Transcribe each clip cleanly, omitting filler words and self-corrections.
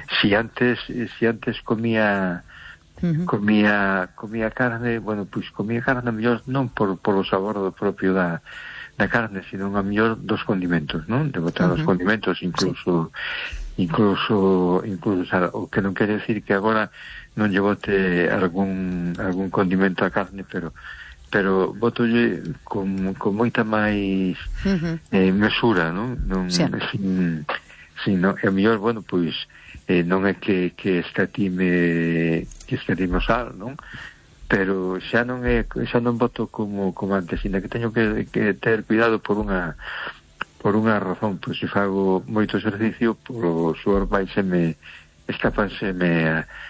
si antes comía carne, bueno, pois comía carne a mellor non por o sabor do propio da carne, sino a mellor dos condimentos, non? De botar os condimentos, incluso o que non quere decir que agora non lle bote algún condimento a carne, pero botolle con moita máis mesura, non? Sin, a mellor, bueno, pois non é que escatime o sal, non? Pero xa non boto como antes, ainda que teño que ter cuidado por unha razón, pois se fago moito exercicio, polo suor escápanseme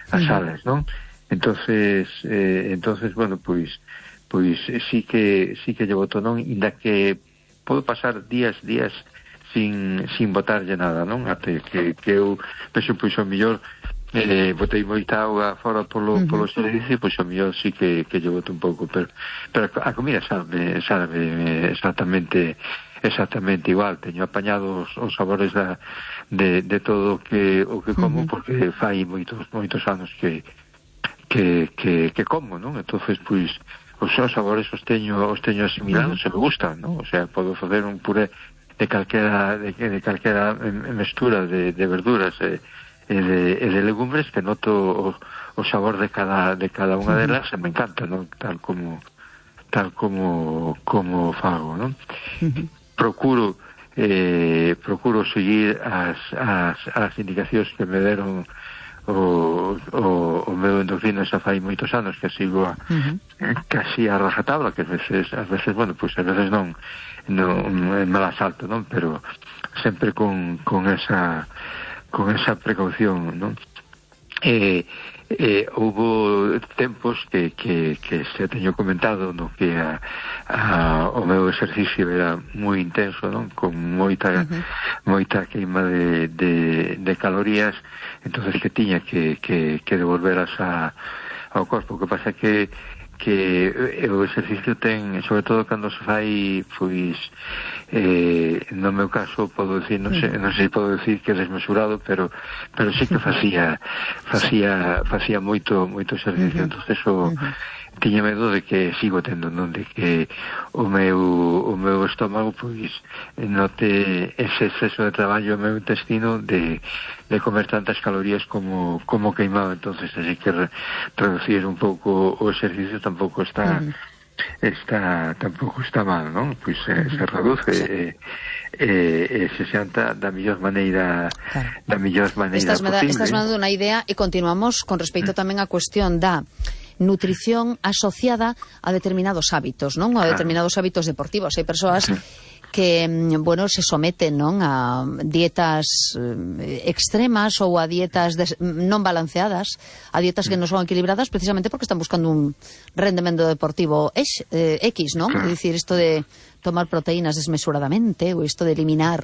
as sales, non? Entonces, bueno, pois sí que lle boto, non? Ainda que podo pasar días sin botarlle nada, non? Até que eu penso, pois, ao mellor botei moita auga fora polo servicio, pois ao mellor sí que lle boto un pouco, pero a comida sabe exactamente igual. Teño apañado os sabores de todo o que como, porque fai moitos anos que como, non? Entonces, pois, os sabores os teño asimilados e me gustan, non? O sea, podo facer un puré de calquera mestura de verduras e de legumbres que noto o sabor de cada unha delas e me encanta, non? Tal como fago, non? Procuro seguir as indicacións que me deron o meu endocrino xa fai moitos anos que sigo casi a rajatabla, que ás veces, bueno, pois ás veces non me la salto, non? Pero sempre con esa precaución, non? Houbo tempos que se teño comentado, no, que o meu exercicio era moi intenso, non? Con moita queima de calorías, entonces que tiña que devolveras ao corpo. O que pasa que o exercicio ten, sobre todo cando se fai, pois no meu caso podo decir, non sei se podo decir que é desmesurado, pero sí que facía moito exercicio. Entonces tiña medo de que sigo tendo, non? De que o meu estómago, pois, note ese exceso de traballo o meu intestino de comer tantas calorías como queimaba. Entonces así que reducir un pouco o exercicio tampouco está mal, non? Pois se reduce se xanta da mellor maneira posible. Estás me dando unha idea e continuamos con respecto tamén á cuestión da nutrición asociada a determinados hábitos, non? A determinados hábitos deportivos. Hai persoas que, bueno, se someten, non, a dietas extremas ou a dietas non balanceadas, a dietas que non son equilibradas precisamente porque están buscando un rendemento deportivo X, non? É dicir, isto de tomar proteínas desmesuradamente ou isto de eliminar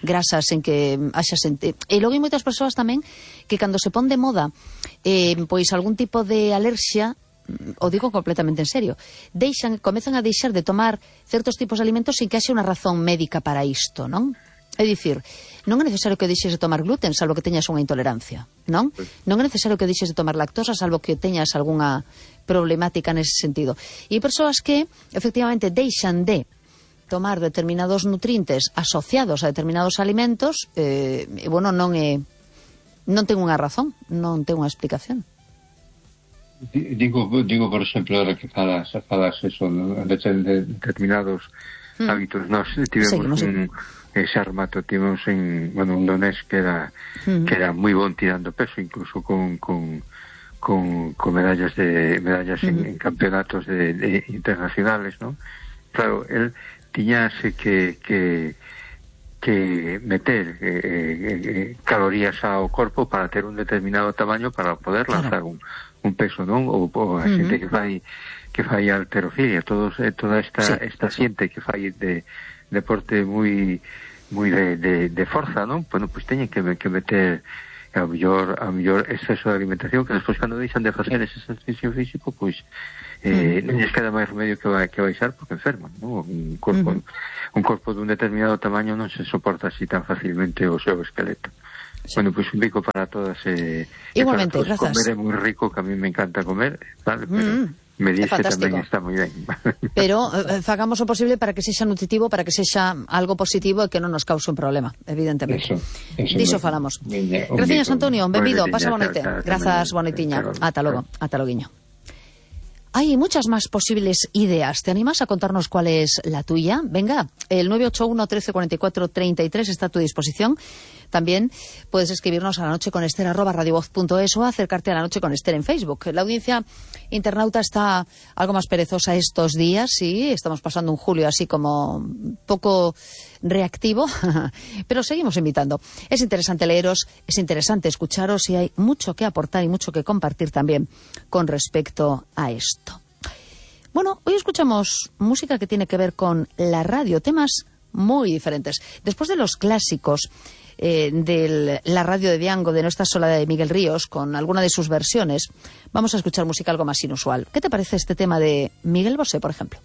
grasas en que haxa e logo hai moitas persoas tamén que cando se pon de moda pois algún tipo de alerxia, o digo completamente en serio, comezan a deixar de tomar certos tipos de alimentos sin que haxe unha razón médica para isto, non? É dicir, non é necesario que deixes de tomar gluten salvo que teñas unha intolerancia, non? Non é necesario que deixes de tomar lactosa salvo que teñas algunha problemática nese sentido. E hai persoas que efectivamente deixan de tomar determinados nutrientes asociados a determinados alimentos bueno, non ten unha razón, non ten unha explicación. Digo por exemplo, ahora que falas eso, de determinados hábitos. Nós tivemos ese remato, tivemos un donés que era moi bon tirando peso, incluso con medallas en campeonatos internacionales, ¿no? Claro, él tiñase que meter calorías ao corpo para ter un determinado tamaño para poder lanzar un peso, non? Ou a xente que fai halterofilia, toda esta xente que fai de deporte moi de forza, non? Bueno, pois teñen que meter a mellor exceso de alimentación, que despois cando deixan de facer ese exercicio físico, pois non lles queda máis remedio que baixar porque enferman, non? Un corpo dun determinado tamaño non se soporta así tan facilmente o seu esqueleto. Sí. Bueno, pues un pico para todas. Igualmente, para todos. grazas. Comer é moi rico, que a mí me encanta comer, vale? Pero medirse tamén está moi ben. Pero fagamos o posible para que sexa nutritivo, para que sexa algo positivo e que non nos cause un problema, evidentemente. Diso falamos. Gracias, Antonio, benvido, pasa boa noite. Grazas, boa noitiña. Ata logo, ata loguiño. Hay muchas más posibles ideas. ¿Te animas a contarnos cuál es la tuya? Venga, el 981 13 44 33 está a tu disposición. También puedes escribirnos a lanocheconester@radiovoz.es o acercarte a La Noche con Ester en Facebook. La audiencia internauta está algo más perezosa estos días, sí, estamos pasando un julio así como poco reactivo, pero seguimos invitando. Es interesante leeros, es interesante escucharos y hay mucho que aportar y mucho que compartir también con respecto a esto. Bueno, hoy escuchamos música que tiene que ver con la radio, temas muy diferentes. Después de los clásicos de la radio de Diango, de No estás sola, de Miguel Ríos, con alguna de sus versiones, vamos a escuchar música algo más inusual. ¿Qué te parece este tema de Miguel Bosé, por ejemplo?